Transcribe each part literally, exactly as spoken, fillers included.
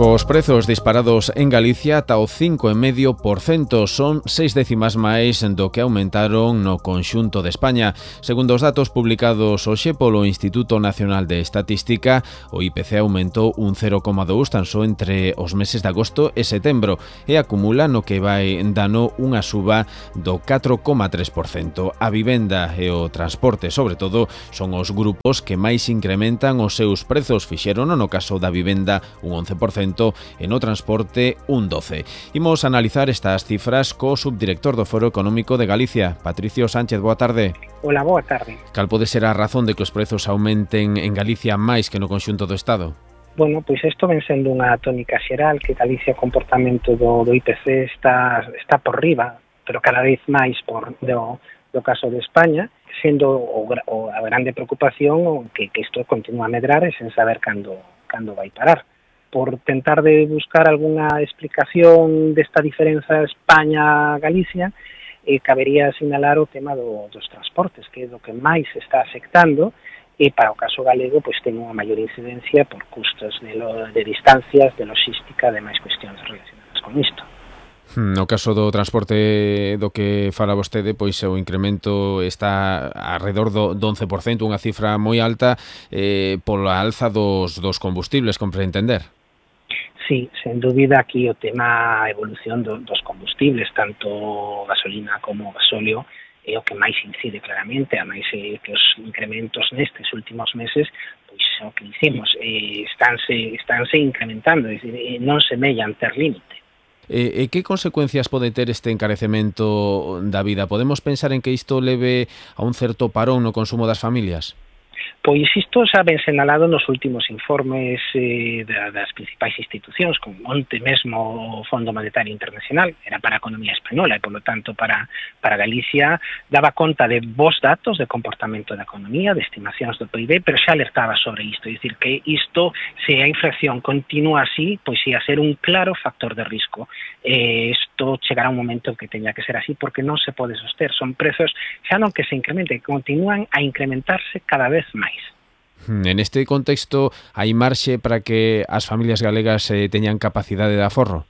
Cos prezos disparados en Galicia ata o cinco vírgula cinco por cento, son seis décimas máis do que aumentaron no conxunto de España. Segundo os datos publicados hoxe polo Instituto Nacional de Estatística, o I P C aumentou un cero coma dous tan só entre os meses de agosto e setembro e acumula no que vai dano unha suba do catro coma tres por cento. A vivenda e o transporte, sobre todo, son os grupos que máis incrementan os seus prezos. Fixeron, no caso da vivenda, un once por cento e no transporte un doce por cento. Imos analizar estas cifras co subdirector do Foro Económico de Galicia, Patricio Sánchez. Boa tarde. Hola, boa tarde. Cal pode ser a razón de que os prezos aumenten en Galicia máis que no conxunto do Estado? Bueno, pois isto ven sendo unha tónica xeral, que Galicia o comportamento do, do I P C está, está por riba, pero cada vez máis por do, do caso de España, sendo o, o, a grande preocupación que, que isto continúa a medrar e sen saber cando, cando vai parar. Por tentar de buscar algunha explicación desta diferenza España-Galicia, eh, cabería sinalar o tema do, dos transportes, que é do que máis está afectando, e para o caso galego pois ten unha maior incidencia por custos de, lo, de distancias, de logística, de máis cuestións relacionadas con isto. No caso do transporte do que fala vostede, pois o incremento está alrededor do once por cento, unha cifra moi alta eh, pola alza dos, dos combustibles, compre entender. Sí, sen dúbida aquí o tema a evolución do, dos combustibles, tanto gasolina como gasóleo, é o que máis incide claramente, a máis eh, que os incrementos nestes últimos meses, pois o que dicimos, eh, estánse, estánse incrementando, é dicir, eh, non se mellan ter límite. E, e que consecuencias pode ter este encarecemento da vida? Podemos pensar en que isto leve a un certo parón no consumo das familias? Pois isto xa ben senalado nos últimos informes eh, das principais institucións, como onte mesmo o Fondo Monetario Internacional, era para a economía española e, polo tanto, para, para Galicia, daba conta de bons datos de comportamento da economía, de estimacións do P I B, pero xa alertaba sobre isto, é dicir, que isto, se a inflación continúa así, pois ia ser un claro factor de risco. Eh, isto chegará un momento en que teña que ser así, porque non se pode soster, son prezos xa non que se incrementen, continúan a incrementarse cada vez máis. En este contexto, hai marxe para que as familias galegas eh, teñan capacidade de aforro?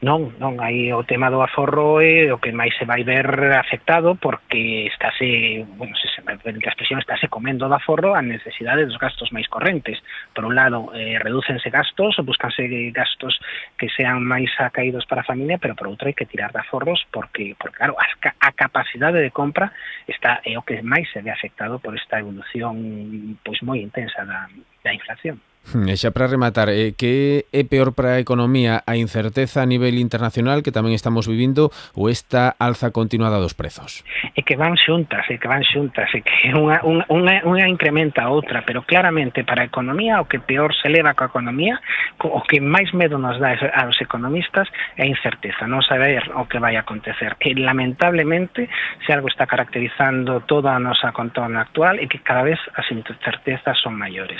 Non, non, aí o tema do aforro é o que máis se vai ver afectado, porque estáse, bueno, se se me permite a expresión, estáse comendo do aforro a necesidade dos gastos máis correntes. Por un lado, eh, redúcense gastos, buscanse gastos que sean máis acaídos para a familia, pero por outro hai que tirar de aforros porque, porque claro, a, a capacidade de compra está é o que máis se ve afectado por esta evolución pois moi intensa da, da inflación. E xa para rematar, eh, que é peor para a economía, a incerteza a nivel internacional que tamén estamos vivindo ou esta alza continuada dos prezos? É que van xuntas, é que van xuntas, é que unha, unha, unha, unha incrementa a outra, pero claramente para a economía o que peor se leva coa economía, o que máis medo nos dá aos economistas é a incerteza, non saber o que vai acontecer. E lamentablemente, se algo está caracterizando toda a nosa contorna actual, é que cada vez as incertezas son maiores.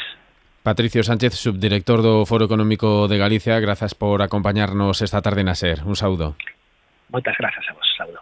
Patricio Sánchez, subdirector do Foro Económico de Galicia, grazas por acompañarnos esta tarde na SER. Un saúdo. Moitas grazas a vos, saúdo.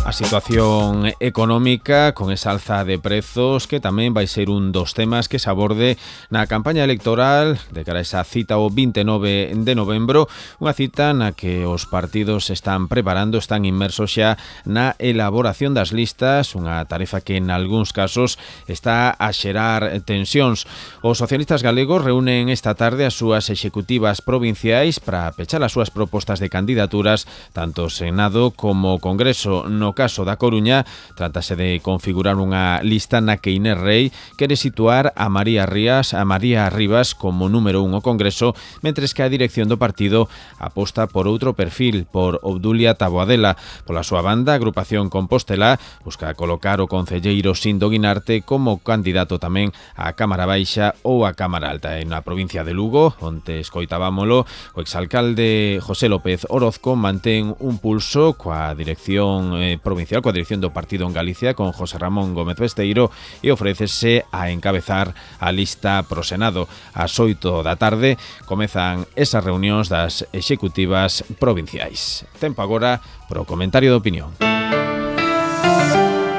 A situación económica con esa alza de prezos que tamén vai ser un dos temas que se aborde na campaña electoral de cara a esa cita o vinte e nove de novembro, unha cita na que os partidos están preparando, están inmersos xa na elaboración das listas, unha tarefa que en algúns casos está a xerar tensións. Os socialistas galegos reúnen esta tarde as súas executivas provinciais para pechar as súas propostas de candidaturas tanto Senado como Congreso. No caso da Coruña, trátase de configurar unha lista na que Inés Rei quere situar a María Rías, a María Rivas como número un ao Congreso, mentres que a dirección do partido aposta por outro perfil, por Obdulia Taboadela. Pola súa banda, a agrupación Compostela busca colocar o concelleiro Sindo Guinarte como candidato tamén á Cámara Baixa ou á Cámara Alta. En a provincia de Lugo, onte escoitábamolo, o exalcalde José López Orozco mantén un pulso coa dirección eh, provincial, coa dirección do partido en Galicia, con José Ramón Gómez Besteiro, e ofrécese a encabezar a lista pro Senado. Ás oito da tarde comezan esas reunións das executivas provinciais. Tempo agora pro comentario de opinión.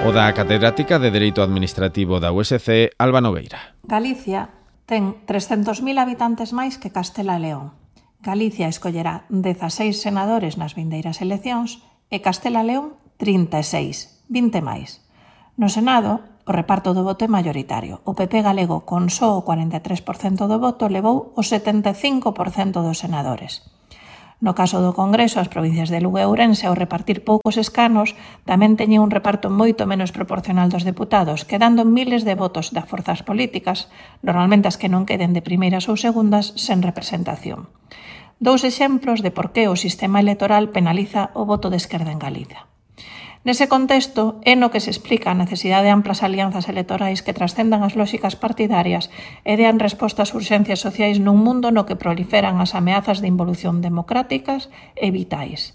O da catedrática de Dereito Administrativo da U S C, Alba Nogueira. Galicia ten trescentos mil habitantes máis que Castela e León. Galicia escollerá dezaseis senadores nas vindeiras eleccións e Castela e León trinta e seis, vinte máis. No Senado, o reparto do voto é mayoritario. O P P galego, con só o cuarenta e tres por cento do voto, levou o setenta e cinco por cento dos senadores. No caso do Congreso, as provincias de Lugo e Ourense, ao repartir poucos escanos, tamén teñen un reparto moito menos proporcional dos deputados, quedando miles de votos das forzas políticas, normalmente as que non queden de primeiras ou segundas, sen representación. Dous exemplos de por que o sistema electoral penaliza o voto de esquerda en Galicia. Nese contexto, é no que se explica a necesidade de amplas alianzas electorais que trascendan as lóxicas partidarias e dean resposta ás urxencias sociais nun mundo no que proliferan as ameazas de involución democráticas e vitais.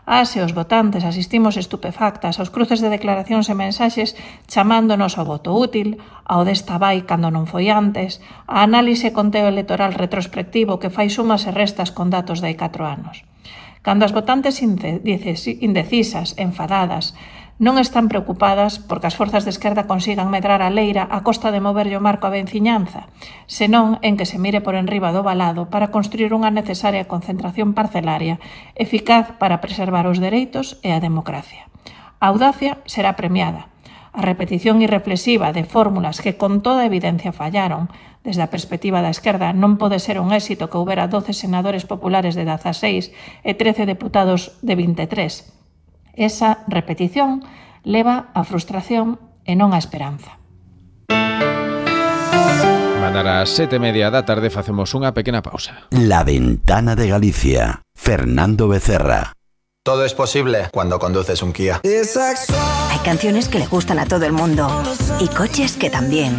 As e os votantes asistimos estupefactas aos cruces de declaracións e mensaxes chamándonos ao voto útil, ao desta vai cando non foi antes, a análise e conteo electoral retrospectivo que fai sumas e restas con datos de hai catro anos. Cando as votantes indecisas, enfadadas, non están preocupadas porque as forzas de esquerda consigan medrar a leira a costa de moverlle o marco a venciñanza, senón en que se mire por enriba do valado para construir unha necesaria concentración parcelaria eficaz para preservar os dereitos e a democracia. A audacia será premiada. A repetición irreflexiva de fórmulas que con toda evidencia fallaron, desde a perspectiva da esquerda, non pode ser un éxito que houbera doce senadores populares de dezaseis e trece deputados de vinte e tres. Esa repetición leva á frustración e non á esperanza. Mandar ás sete e media da tarde facemos unha pequena pausa. La Ventana de Galicia. Fernando Becerra. Todo es posible cuando conduces un Kia. Hay canciones que le gustan a todo el mundo y coches que también.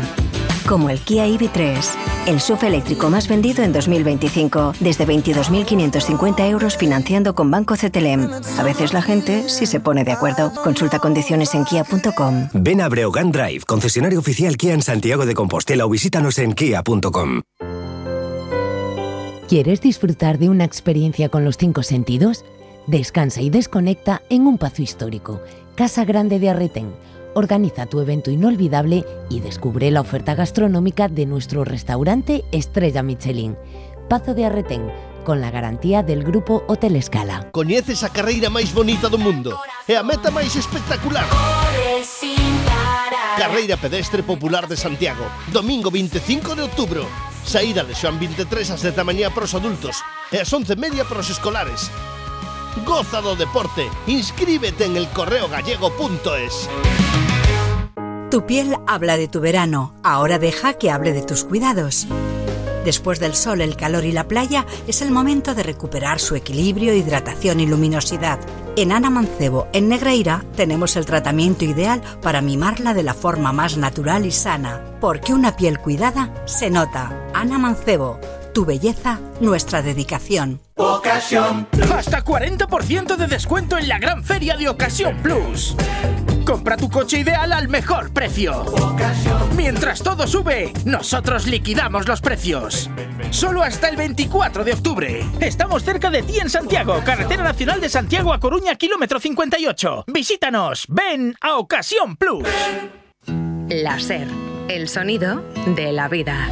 Como el Kia E V tres, el S U V eléctrico más vendido en dos mil veinticinco, desde veintidós mil quinientos cincuenta euros financiando con Banco C T L M. A veces la gente sí se pone de acuerdo. Consulta condiciones en kia punto com. Ven a Breogán Drive, concesionario oficial Kia en Santiago de Compostela, o visítanos en kia punto com. ¿Quieres disfrutar de una experiencia con los cinco sentidos? Descansa y desconecta en un pazo histórico, Casa Grande de Arretén. Organiza tu evento inolvidable y descubre la oferta gastronómica de nuestro restaurante Estrella Michelin. Pazo de Arretén, con la garantía del Grupo Hotel Escala. Coñeces a carreira máis bonita do mundo e a meta máis espectacular. Carreira pedestre popular de Santiago, domingo veinticinco de outubro. Saída de Xoán vinte e tres ás dez da mañá para os adultos e ás once e media para os escolares. Goza do deporte, inscríbete en el correo gallego punto es. Tu piel habla de tu verano, ahora deja que hable de tus cuidados. Después del sol, el calor y la playa, es el momento de recuperar su equilibrio, hidratación y luminosidad. En Ana Mancebo, en Negreira, tenemos el tratamiento ideal para mimarla de la forma más natural y sana. Porque una piel cuidada se nota. Ana Mancebo, tu belleza, nuestra dedicación. Ocasión Plus. Hasta cuarenta por ciento de descuento en la gran feria de Ocasión Plus. Compra tu coche ideal al mejor precio. Mientras todo sube, nosotros liquidamos los precios. Solo hasta el veinticuatro de octubre. Estamos cerca de ti en Santiago, Carretera Nacional de Santiago a Coruña, kilómetro cincuenta y ocho. Visítanos, ven a Ocasión Plus. Láser, el sonido de la vida.